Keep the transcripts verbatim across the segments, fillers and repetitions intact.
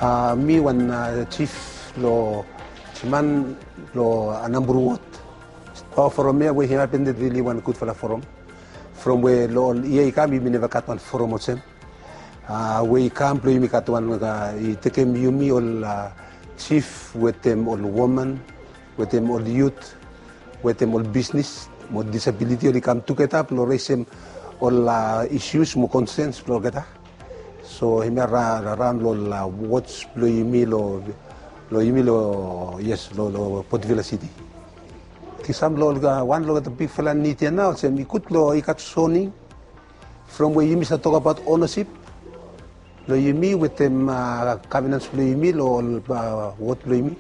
Mi wan jif long Jiman long Anambur wod. Forom ya we hemia i bin rili wan gudfala forom. From we long ol yia i kam yumi neva gat wan forom olsem. We i kam blong yumi gat wan i tekem yumi ol jif wetem ol woman, wetem ol yut, wetem ol bisnis mo disabiliti oli kam tugeta blong resem ol isius mo konsens blong olgeta. So hemia raon long ol wods blong yumi long yumi long yes long Potivila Siti. Kisam long ol wan long ol bigfala nid ya nao olsem i gud long i gat soning from we yumi save tokabaot onesip long yumi wetem gavenans blong yumi long ol wod blong yumi.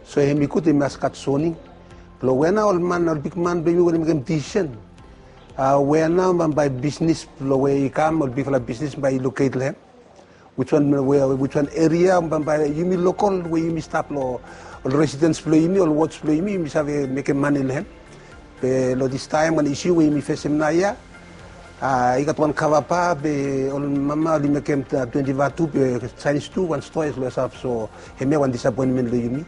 So hem i gud i mas gat soning blong we nao ol man ol bigman blong yumi we oli mekem disisen we nao bambae bisnis blong we i kam ol bigfala bisnis bae i loket long hem. Wiswan wiswan eria bambae yumi lokol we yumi stap long ol residens blong yumi ol wods blong yumi yumi save mekem mane long hem. Be long distaem wan isiu we yumi fesem naoia i gat wan kavapa be ol mama oli mekem twenti vatu be saenis tu wan stoa i save. So hemia wan disapoenmen long yumi.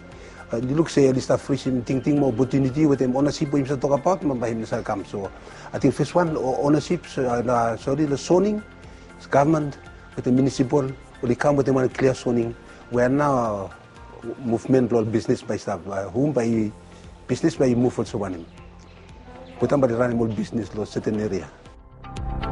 I luk se oli stap frisim tingting mo opotuniti wetem onesip we yumi save tokabaot bambae hem i save kam. So ating feswan onesip sori long soning gavman wetem munisipal oli kam wetem wan klia soning we nao muvmen blong ol bisnis bae i stap hum bae i bisnis bae i muv olsem wanem. Wetem bae i ranem ol bisnis long seten eria.